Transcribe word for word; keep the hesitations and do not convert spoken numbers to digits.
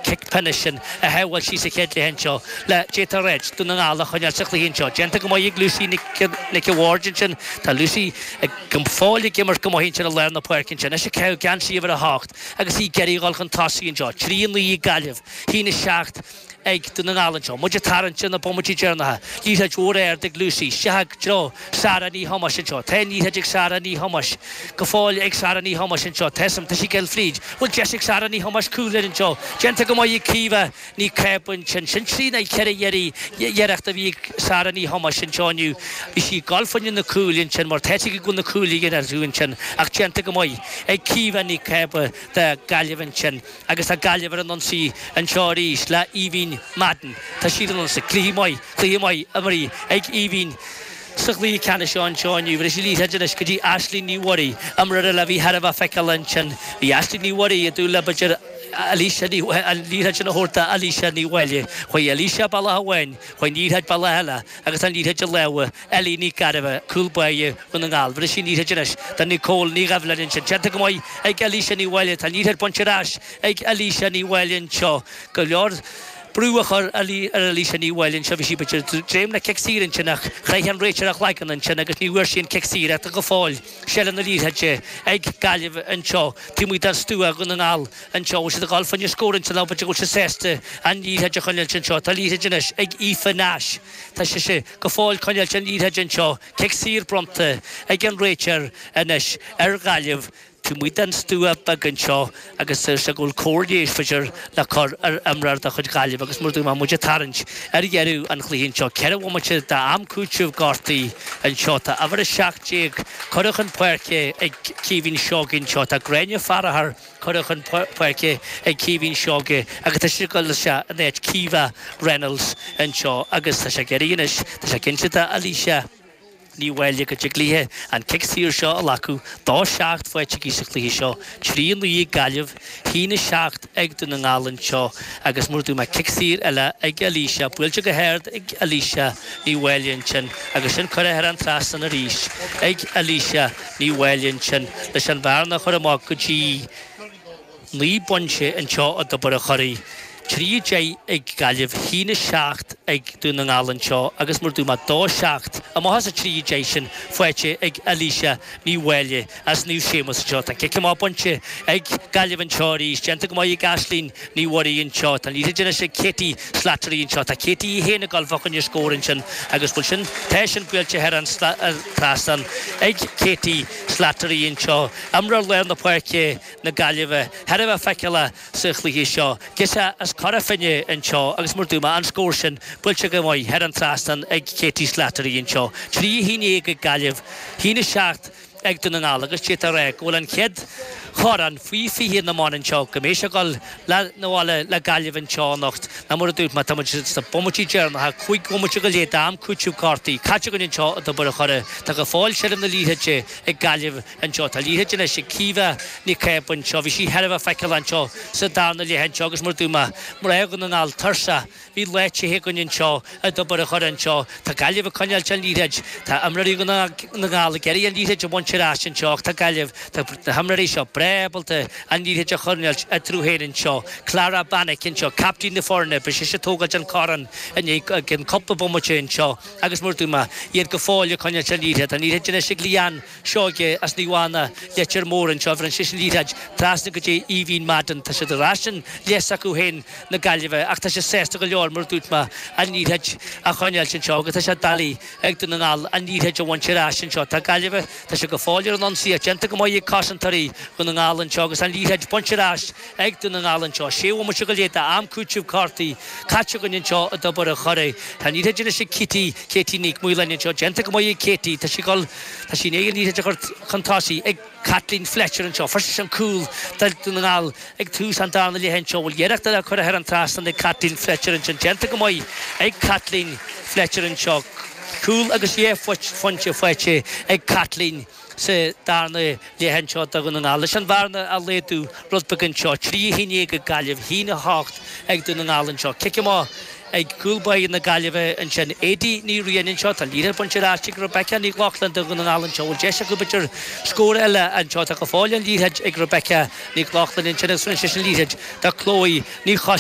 Cic pionóis sin a shábháil sí sa chéad leath anseo le d'fhéadfá a ráit, Dún na nGall a choinneáil sa chluiche anseo. Déanta go maith ag Lucy Nic an Bhaird ansin. Tá Lucy go fóill ag imirt go maith ansin i lár na páirce ansin. Anois ag caitheamh geansaí uimhir a hocht agus í ag iarraidh a dhul chun tosaigh anseo. Trí a naoi ag Gaillimh, a haon a seacht ag Dún na nGall anseo. Muid ag tarraingt ar na bomaití deireanacha. Liathróid mhór ard ag Lucy. Isteach i dtreo Sarah Ní Thomáis anseo. Tá an liathróid ag Sarah Ní Thomáis. Go fóill ag Sarah Ní Thomáis anseo. Tá tá sí ag dul fríd. Bhfuil deis ag Sarah Ní Thomáis cúl air anseo. Déanta go maith ag Caoimhe Ní Cába ansin. Sin trí nó ceithre iarracht a bhí ag Sarah Ní Thomáis anseo inniu. Bhí sí ag dul fá choinne na cúil ansin mar tá sí ag dul na cúil a dhéanamh ansin ach déanta go maith ag Caoimhe Ní Cába do Gaillimh ansin. Agus tá Gaillimh ar an ionsaí anseo arís le Aoibhín Madden. Tá siad ar an ionsaí. Cluiche maith, cluiche maith imeartha ag Aoibhín sa chluiche ceannais seo anseo inniu. Bhris sí liathróid anois go dtí Aisling Ní Mhuirí, imreoir eile a bhí thar a bheith feiceálach ansin. Bhí Aisling Ní Mhuirí ag dúil le b'fhéidir Alicia Ní an liathróid sin a thabhairt do Alicia Ní Mháille. Chuaigh Alicia bealach amháin, chuaigh an liathróid bealach eile agus tá an liathróid i lámha Ellie Ní Ghairbhith, cúl báire Dhún na nGall. Bhris sí an liathróid anois do Nicole Ní Dhoibhlin ansin. Déanta go maith ag Alicia Ní Mháille. Tá an liathróid bainte ar ais ag Alicia Ní Mháille anseo. Go leor brú a chur ar Alicia Ní Mháille anseo. Bhí sí b'fhéidir ag dréim le cic saor ansin ach chroith an réiteoir a chloigeann ansin agus ní bhfuair sí an cic saor ach tá go fóill seilbh na liathróide ag Gaillimh anseo taobh amuigh de stua Dhún na nGall anseo. Bhfuil siad ag dul fá choinne scór ansin nó b'fhéidir go bhfuil siad sásta an liathróid a choinneáilt anseo. Tá liathróid anois ag Aoife Nash. Tá sise go fóill coinneáilt an liathróid anseo. Cic saor bronnta ag an réiteoir anois ar Ghaillimh. Taobh amuigh den stua beag anseo agus deir sé go bhfuil cóir leighis b'fhéidir le cur ar imreoir de chuid Ghaillimh agus mar a dúirt mé muid ag tarraingt ar dheireadh an chluiche anseo. Ceithre bhomaite d'am cúitimh gortaithe anseo. Tá uimhir a seacht déag curtha chun páirce ag Caoimhín Seoighe anseo. Tá Gráinne Farragher curtha chun páirce ag Caoimhín Seoighe agus tá sí ag dul isteach in áit Caoimhe Reynolds anseo agus tá sé ag éirí anois, tá sé cinnte d'Alicia. Ní Mháille go dtig léi an cic saor seo a ghlacadh. Dó seacht faighte aici sa chluiche seo. Trí a naoi ag Gaillimh, haon a seacht ag Dún na nGall anseo agus mar a dúirt mé cic saor eile ag Alicia. Buailte go hard ag Alicia Ní Mháille ansin agus sin curtha thar an trasnán arís ag Alicia Ní Mháille ansin leis an bhearna a chur amach go dtí naoi bpointe anseo i dTobar an Churraigh. Trí a deich ag Gaillimh, haon a seacht ag Dún na nGall anseo agus mar a dúirt mé dó seacht amach as an trí a deich sin faighte ag Alicia Ní Mháille as Naomh Séamus anseo. Tá cic amach bainte ag Gaillimh anseo arís. Déanta go maith ag Aisling Ní Mhuirí anseo. Tá an liathróid anois ag Katie Slattery anseo. Tá Katie í féin ag dul fá choinne scór ansin agus bhfuil sin, tá sin buailte thar an trasnán ag Katie Slattery anseo. Imreoir lár na páirce na Gaillimhe thar a bheith feiceálach sa chluiche seo. Girseach as Cora Finne anseo agus mar a dúirt mé, an scór sin buailte go maith thar an trasnán ag Katie Slattery anseo. Trí a haon déag ag Gaillimh, haon a seacht ag Dún na nGall agus d'fhéadfá a rá go bhfuil an chéad chorn faoi fiche na mban anseo, go mbeidh sé ag dul 'na bhaile le Gaillimh anseo anocht. Ná mar a dúirt mé, tá muid sna bomaití deireanacha, cúig bhomaite go leith d'am cúitimh cártaí caite againn anseo i dTobar an Churraigh. Tá go fóill seilbh na liathróide ag Gaillimh anseo. Tá liathróid anois ag Caoimhe Nic Cába anseo. Bhí sí thar a bheith feiceálach anseo sa darna leath anseo agus mar a dúirt mé, mná Dhún na nGall tuirseach. Bhí lá te againn anseo i dTobar an Churraigh anseo. Tá Gaillimh ag coinneáilt an liathróid. Tá imreoirí Dhún na nGall ag iarraidh an liathróid a bhaint ar ais anseo ach tá Gaillimh, tá na himreoirí seo breá ábalta an liathróid a choinneáilt eatarthu féin anseo. Clara Bannick anseo, captaen na foirne, beidh sise ag tógáilt an corn i ndiaidh cúpla bomaite anseo agus mar a dúirt mé, iad go fóill ag coinneáilt an liathróid. Tá an liathróid anois ag Leanne Seoige as Naomh Anna, Leitir Móir anseo. Bheireann sise an liathróid trasna go dtí Aoibhín Madden. Tá siad ar ais in leath s'acu féin, na Gaillimhe, ach tá siad sásta go leor, mar a dúirt mé, an liathróid a choinneáilt anseo agus tá sé doiligh ag Dún na nGall an liathróid a bhaint ar ais anseo. Tá Gaillimh, tá siad go fóill ar an ionsaí ach déanta go maith ag cosantóirí Dhún na nGall anseo agus an liathróid bainte ar ais ag Dún na nGall anseo. Sé bhomaite go leith d'am cúitimh cártaí caite againn anseo i dTobar an Churraigh. Tá an liathróid anois ag Katie, Katie Nic Maoláin anseo. Déanta go maith ag Katie. Tá sí ag dul, tá sí i ndiaidh an liathróid a chur chun tosaigh ag Caitlín Fletcher anseo. Fuair sise an cúl do Dhún na nGall ag tús an darna leath anseo. Bhfuil iarracht eile curtha thar an trasnán ag Caitlín Fletcher ansin. Déanta go maith ag Caitlín Fletcher anseo. Cúl agus dhá phointe faighte ag Caitlín sa darna leath anseo do Dhún na nGall. Leis an bhearna a laghdú rud beag anseo. Trí a haon déag ag Gaillimh, a haon a hocht ag Dún na nGall anseo. Cic amach ag cúl báire na Gaillimhe ansin Éadaoin Ní Riain anseo tá liathróid bainte ar ais ag Rebecca Ní Lochlainn do Dhún na nGall anseo bhfuil deis acu b'fhéidir scór eile anseo tá go fóill an liathróid ag Rebecca Ní Lochlainn ansin agus rinne sí an liathróid do Chloe Ní Choistín